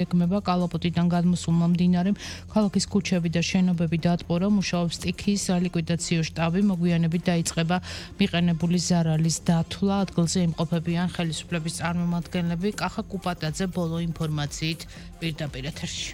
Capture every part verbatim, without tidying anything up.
ეგმება კალაპოტიდან გადმოსულმა მდინარემ ქალაქის ქუჩები და შენობები დაატყორა, მუშაობს სტიქიის სალიკვიდაციო შტაბი, მოგვიანებით დაიწყება მიყენებული ზარალის დათვლა, ადგილზე იმყოფებიან ხელისუფლების წარმომადგენლები. კახა კუპატაძე ბოლო ინფორმაციით პირდაპირ ეთერში.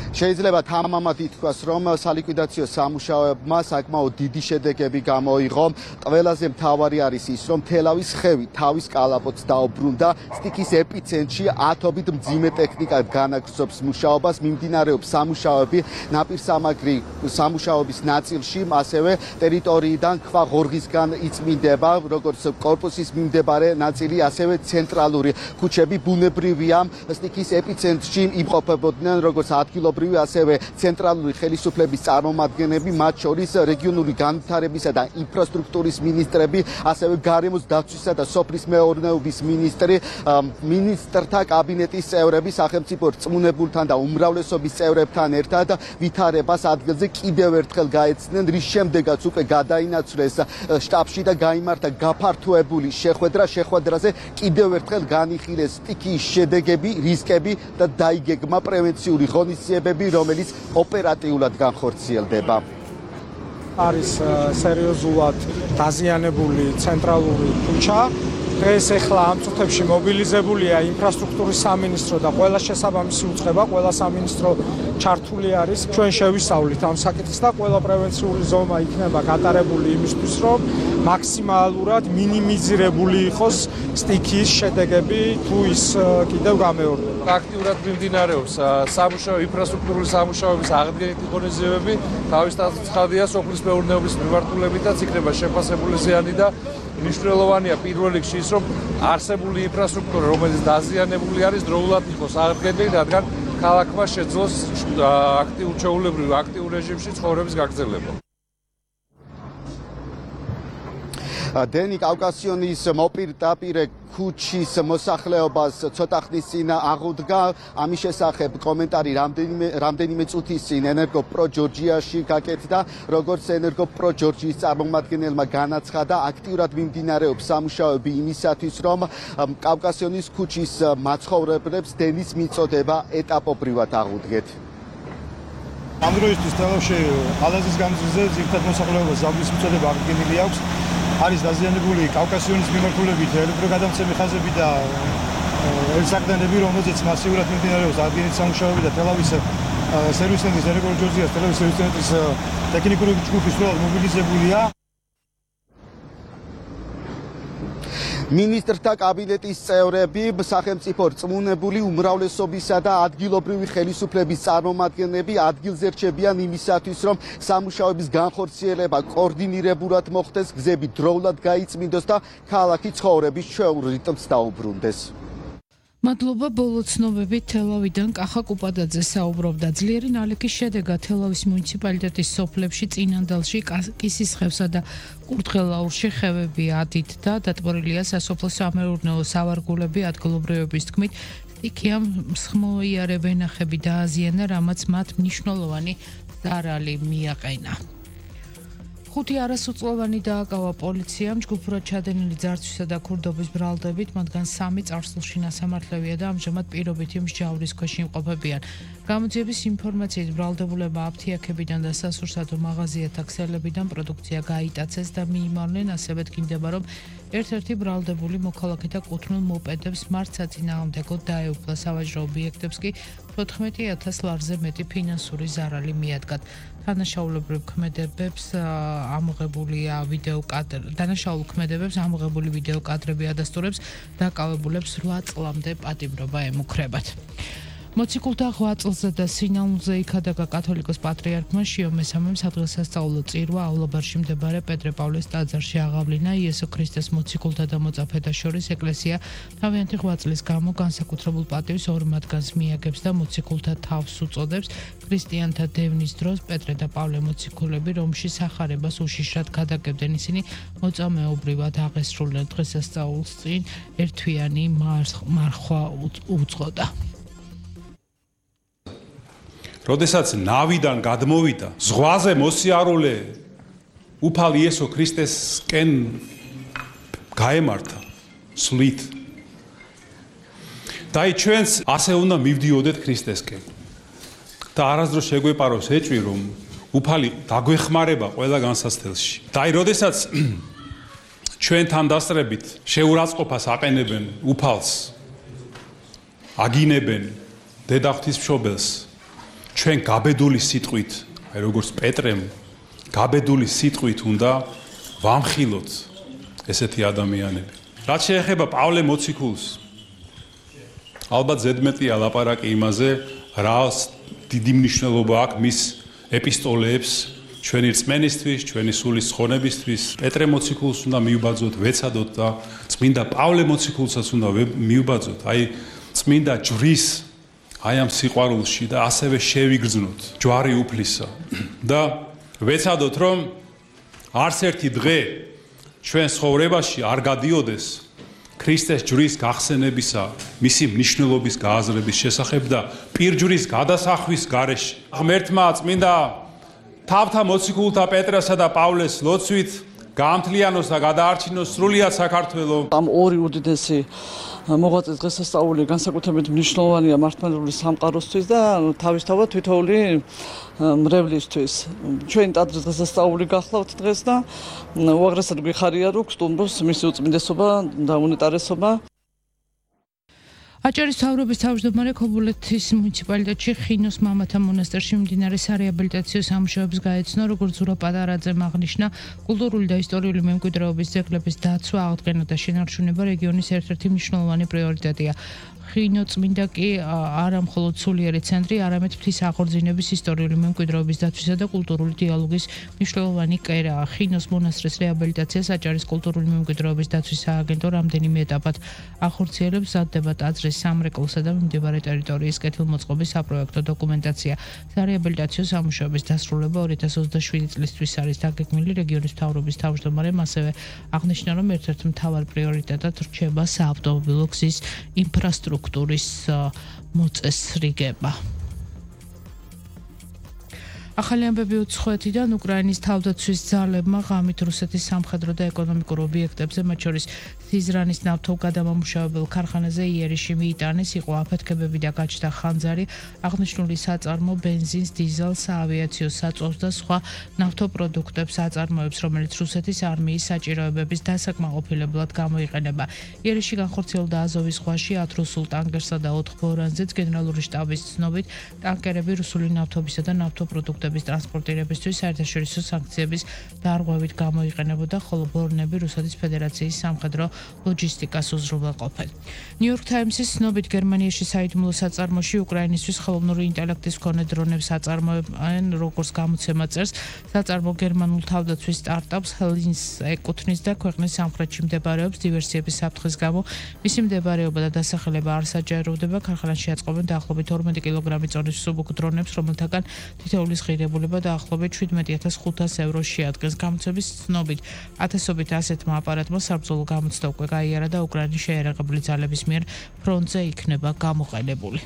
შეიძლება თამამად ითქვას, რომ სალიკვიდაციო სამუშაოებმა საკმაოდ დიდი შედეგები გამოიღო. ყველაზე მთავარი არის ის, რომ თელავის ხევი თავის კალაპოტს დაუბრუნდა. სტიქის ეპიცენტრში ათობით მძიმე ტექნიკად განაგრძობს მუშაობას. მიმდინარეობს სამუშაოები ნაპირსამაგრი სამუშაოების ნაწილში, ასევე ტერიტორიიდან ქვა ღორღისგან იწმინდება, როგორც კორპუსის მიმდებარე ნაწილი, ასევე ცენტრალური ქუჩები. ბუნებრივია, სტიქის ეპიცენტრში იმყოფებოდნენ როგორც ადგილობრივი ასევე ცენტრალური ხელისუფლების წარმომადგენლები, მათ შორის რეგიონული განვითარებისა და ინფრასტრუქტურის მინისტრები, ასევე გარემოს დაცვისა და სოფლის მეურნეობის მინისტრი, მინისტრთა კაბინეტის წევრები, სახელმწიფო რწმუნებულთან და უმრავლესობის წევრებთან ერთად ვითარებას ადგილზე კიდევ ერთხელ გაეცნენ, რის შემდეგაც უკვე გადაინაცვლეს შტაბში და გაიმართა გაფართოებული შეხვედრა. შეხვედრაზე კიდევ ერთხელ განიხილეს სტიქიის შედეგები, რისკები და დაიგეგმა პრევენციული ღონისძიებები, რომელიც ოპერატიულად განხორციელდება. არის სერიოზულად დაზიანებული ცენტრალური ქუჩა. დღეს ახლა ამ წუთებში მობილიზებულია ინფრასტრუქტურის სამინისტრო და ყველა შესაბამისი უწყება, ყველა სამინისტრო ჩართული არის. ჩვენ შევისწავლით ამ საკითხს და ყველა პრევენციული ზომა იქნება გატარებული იმისთვის, რომ მაქსიმალურად მინიმიზირებული იყოს სტიქიის შედეგები, თუ ის კიდევ გამეორდება. აქტიურად მიმდინარეობს სამუშაო ინფრასტრუქტურული სამუშაოების აღდგენითი ღონისძიებები. თავის ცხადია სოფლის მეურნეობის მიმართულებითაც იქნება შეფასებული ზიანი და მნიშვნელოვანია პირველ რიგში ის, რომ არსებული ინფრასტრუქტურა, რომელიც დაზიანებული არის, დროულად იყოს აღდგენილი, რადგან ქალაქმა შეძლოს აქტიურ ჩვეულებრივ აქტიურ რეჟიმში ცხოვრების გაგრძელება. დენი კავკასიონის მოპირდაპირე ქუჩის მოსახლეობას ცოტა ხნის წინ აღუდგა. ამის შესახებ კომენტარი რამდენიმე რამდენიმე წუთის წინ ენერგოპრო ჯორჯიაში გაკეთდა. როგორც ენერგოპრო ჯორჯიის წარმომადგენელმა განაცხადა, აქტიურად მიმდინარეობს სამუშაოები იმისათვის, რომ კავკასიონის ქუჩის მაცხოვრებლებს დენის მიწოდება ეტაპობრივად აღუდგეთ. ამ დროისთვის თელავში ალაზის განძრზე ძირითად მოსახლეობას ზავნის მიწოდება აღდგენილი აქვს. არის დაზიანებული კავკასიონის მიმართულებით ელექტროგადამცემი ხაზები და ელსაყდენები, რომელზეც მასიურად მიმდინარეობს აღდგენითი სამუშაოები და თელავის სერვის ცენტრის ენერგოპრო ჯორჯიის თელავის სერვის ცენტრის ტექნიკური ჯგუფი სრულად მობილიზებულია. მინისტრთა კაბინეტის წევრები, სახელმწიფო რწმუნებული უმრავლესობისა და ადგილობრივი ხელისუფლების წარმომადგენლები ადგილზე რჩებიან იმისათვის, რომ სამუშაოების განხორციელება კოორდინირებულად მოხდეს, გზები დროულად გაიწმინდოს და ქალაქი ცხოვრების ჩვეულ რიტმს დაუბრუნდეს. მადლობა. ბოლო ცნობებით თელავიდან კახა კუპატაძე საუბრობდა. ძლიერი ნალექის შედეგად თელავის მუნიციპალიტეტის სოფლებში წინანდალში, კისისხევსა და კურთხელაურში ხევები ადით და დატბორილია სასოფლო სამეურნეო სავარგულები. ადგილობრივების თქმით, სტიქიამ მსხმოიარე ვენახები დააზიანა, რამაც მათ მნიშვნელოვანი ზარალი მიაყენა. ხუთი არასრულწლოვანი დააკავა პოლიციამ ჯგუფურად ჩადენილი ძარცვისა და ქურდობის ბრალდებით, მათგან სამი წარსულში ნასამართლევია და ამჟამად პირობითი მსჯავრის ქვეშ იმყოფებიან. გამოძიების ინფორმაციით ბრალდებულებმა აფთიაქებიდან და სასურსათო მაღაზიათა ქსელებიდან პროდუქცია გაიტაცეს და მიიმარნენ, ასევე დგინდება, რომ ერთ-ერთი ბრალდებული მოქალაქეთა კუთვნილ მოპედებს მართ საწინააღმდეგოდ დაეუფლა. სავაჭრო ობიექტებს კი თოთხმეტი ათას ლარზე მეტი ფინანსური ზარალი მიადგათ. დანაშაულებრივ ქმედებებს ამოღებულია ვიდეო კადრები, დანაშაულ ქმედებებს ამოღებული ვიდეო კადრები ადასტურებს, დაკავებულებს რვა წლამდე პატიმრობა ემუქრებათ. მოციქულთა ღვაწლზე და სინაულზე იქადაგა კათოლიკოს პატრიარქმა შიო მესამემ სადღესასწაულო წირვა აულაბარში მდებარე პეტრე პავლეს ტაძარში აღავლინა. იესო ქრისტეს მოციქულთა და მოწაფეთა შორის ეკლესია თავიანთი ღვაწლის გამო განსაკუთრებულ პატივს ორ მათგანს მიაგებს და მოციქულთა თავს უწოდებს. ქრისტიანთა დევნის დროს პეტრე და პავლე მოციქულები რომში სახარებას უშიშრად გადაგებდნენ. ისინი მოწამეობრივად აღესრულნენ დღესასწაულს წინ ერთვიანი მარხვა უძღოდა. როდესაც ნავიდან გადმოვიდა, ზღვაზე მოსიარულე უფალ იესო ქრისტესკენ გაემართა სვლით. და აი ჩვენც ასე უნდა მივდიოდეთ ქრისტესკენ. და არასდროს შეგვეპაროს ეჭვი, რომ უფალი დაგვეხმარება ყველა განსაცდელში. და აი, როდესაც ჩვენთან დასწრებით შეურაცხყოფას აყენებენ უფალს, აგინებენ დედა ღვთისმშობელს, ჩვენ გაბედული სიტყვით, აი როგორც პეტრემ, გაბედული სიტყვით უნდა ვამხილოთ ესეთი ადამიანები. რაც შეეხება პავლე მოციქულს, ალბათ ზედმეტია ლაპარაკი იმაზე, რა დიდი მნიშვნელობა აქვს მის ეპისტოლეებს ჩვენი რწმენისთვის, ჩვენი სულის ცხონებისთვის. პეტრე მოციქულს უნდა მივბაძოთ, ვეცადოთ და წმინდა პავლე მოციქულსაც უნდა მივბაძოთ. აი წმინდა ჯვრის აი ამ სიყვარულში და ასევე შევიგრძნოთ ჯვარი უფლისა და ვეცადოთ, რომ არც ერთი დღე ჩვენ ცხოვრებაში არ გადიოდეს ქრისტეს ჯვრის გახსენებისა, მისი მნიშვნელობის გააზრების შესახებ და პირჯვრის გადასახვის გარეშე. ღმერთმა წმინდა თავთა მოციქულთა პეტრესა და პავლეს ლოცვით გაამთლიანოს და გადაარჩინოს სრულიად საქართველო. ამ ორი უდიდესი მოღვაწის დღესასწაული განსაკუთრებით მნიშვნელოვანია მართლმადიდებლური სამყაროსთვის და თავისთავად თითოეული მრევლისთვის. ჩვენი ტაძრის დღესასწაული გახლავთ დღეს და უაღრესად გვიხარია, რომ სტუმროს მისი უწმინდესობა და უნეტარესობა. აჭარის მთავრობის თავმჯდომარე ქობულეთის მუნიციპალიტეტში ხინოს მამათა მონასტერში მიმდინარე სარეაბილიტაციო სამუშაოებს გაეცნო, როგორც ზურა პატარაძემ აღნიშნა, კულტურული და ისტორიული მემკვიდრეობის ძეგლების დაცვა, აღდგენა და შენარჩუნება რეგიონის ერთ-ერთი მნიშვნელოვანი პრიორიტეტია. ხინო წმინდა კი არა მხოლოდ სულიერი ცენტრი, არამედ მთის აღორძინების ისტორიული მემკვიდრეობის დაცვისა და კულტურული დიალოგის მნიშვნელოვანი კერაა. ხინოს მონასტრის რეაბილიტაციას აჭარის კულტურული მემკვიდრეობის დაცვის სააგენტო რამდენიმე ეტაპად ახორციელებს, მზადდება ტაძრის სამრეკლოსა და მიმდებარე ტერიტორიის კეთილმოწყობის საპროექტო დოკუმენტაცია. სარეაბილიტაციო სამუშაოების დასრულება ორი ათას ოცდაშვიდი წლისთვის არის დაგეგმილი. რეგიონის მთავრობის თავმჯდომარემ ასევე აღნიშნა, რომ ერთ-ერთ მთავარ პრიორიტეტად რჩება საავტომობილო გზის ინფრასტრუქტურა სტრუქტურის მოწესრიგება. ახალი ამბები უცხოეთიდან უკრაინის თავდაცვის ძალებმა ღამით რუსეთის სამხედრო და ეკონომიკურ ობიექტებზე, მათ შორის სიზრანის ნავთობგადამამუშავებელ ქარხანაზე იერიში მიიტანეს, იყო აფეთქებები და გაჩნდა ხანძარი, აღნიშნული საწარმო ბენზინს, დიზელს, საავიაციო საწვავს და სხვა ნავთობპროდუქტებს აწარმოებს, რომელიც რუსეთის არმიის საჭიროებების დასაკმაყოფილებლად გამოიყენება. იერიში განხორციელდა აზოვის ზღვაში ათ რუსულ ტანკერსა და ოთხ ბორანზეც. გენერალური შტაბის ცნობით, ტანკერები რუსული ნავთობისა და ნავთობპროდუქტების ტრანსპორტირებისთვის საერთაშორისო სანქციების დარღვევით გამოიყენებოდა, ხოლო ბორნები რუსეთის ფედერაციის სამხედრო ლოჯისტიკას უზრუნველყოფენ. ნიუ-იორკ თაიმსის ცნობით, გერმანიაში საიდუმლო საწარმოში უკრაინისთვის ხელოვნური ინტელექტის მქონე დრონებს აწარმოებენ, როგორც გამოცემა წერს. საწარმო გერმანულ თავდაცვის სტარტაპს ჰელინს ეკუთვნის და ქვეყნის სამხრეთში მდებარეობს. დივერსიების საფრთხის გამო მისი მდებარეობა და დასახელება არ საჯაროვდება. ქარხანაში აწყობენ დაახლოებით ორმეტი კილოგრამი წონის მსუბუქ დრონებს, რომელთაგან თითოეულის ღირებულება დაახლოებით შვიდმეტი ათას ხუთას ევროს შეადგენს. გამოცემის ცნობით, ათასობით ასეთმა აპარატმა საბრძოლო გამოცდა უკვე გაიარა და უკრაინის შეიარაღებული ძალების მიერ ფრონტზე იქნება გამოყენებული.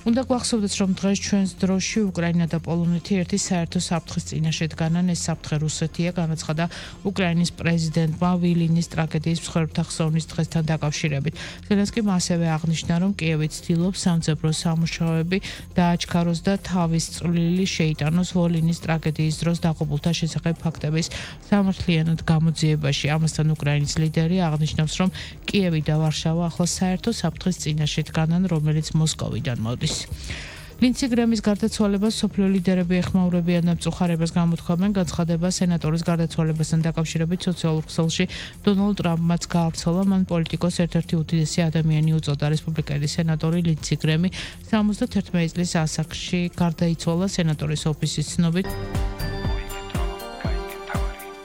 უნდა გვახსოვდეს, რომ დღეს ჩვენს დროში უკრაინა და პოლონეთი ერთი საერთო საფრთხის წინაშე დგანან. ეს საფრთხე რუსეთია, განაცხადა უკრაინის პრეზიდენტმა ვილინის ტრაგედიის მსხვერპლთა ხსოვნის დღესთან დაკავშირებით. ზელენსკიმ ასევე აღნიშნა, რომ კიევი ცდილობს სამძებრო სამუშაოები დააჩქაროს და თავის წვლილი შეიტანოს ვოლინის ტრაგედიის დროს დაღუპულთა შესახებ ფაქტების სამართლიანად გამოძიებაში. ამასთან უკრაინის ლიდერი აღნიშნავს, რომ კიევი და ვარშავა ახლა საერთო საფრთხის წინაშე დგანან, რომელიც მოსკოვიდან მოდის. ლინცი გრემის გარდაცვალებას სოფლიო ლიდერები ეხმაურებიან და მწუხარებას გამოთქვამენ. განცხადება სენატორის გარდაცვალებასთან დაკავშირებით სოციალურ ქსელში დონალდ ტრამპმაც გაავრცელა. მან პოლიტიკოს ერთ-ერთი უდიდესი ადამიანი უწოდა. რესპუბლიკელი სენატორი ლინცი გრემი სამოცდაერთი წლის ასაკში გარდაიცვალა. სენატორის ოფისის ცნობით.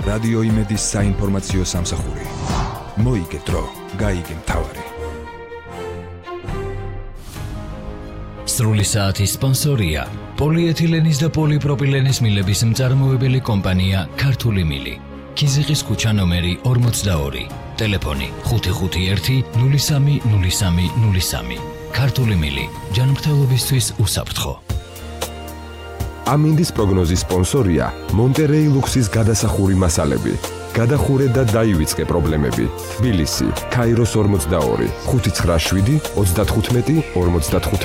რადიო იმედის საინფორმაციო სამსახური. მოიგე დრო, გაიგე მთავარი. სრული საათის სპონსორია პოლიეთილენის და პოლიპროპილენის მილების მწარმოებელი კომპანია ქართული მილი. ქიზიყის ქუჩა ნომერი ორმოცდაორი. ტელეფონი ხუთი ხუთი ერთი ნული სამი ნული სამი ნული სამი. ქართული მილი. ჯანმრთელობისთვის უსაფრთხო. ამინდის პროგნოზის სპონსორია მონტერეი ლუქსის გადასახური მასალები. გადახურე და დაივიწყე პრობლემები. თბილისი, ქაიროს ორმოცდაორი, ხუთი ცხრა შვიდი ოცდათხუთმეტი ორმოცდათხუთმეტი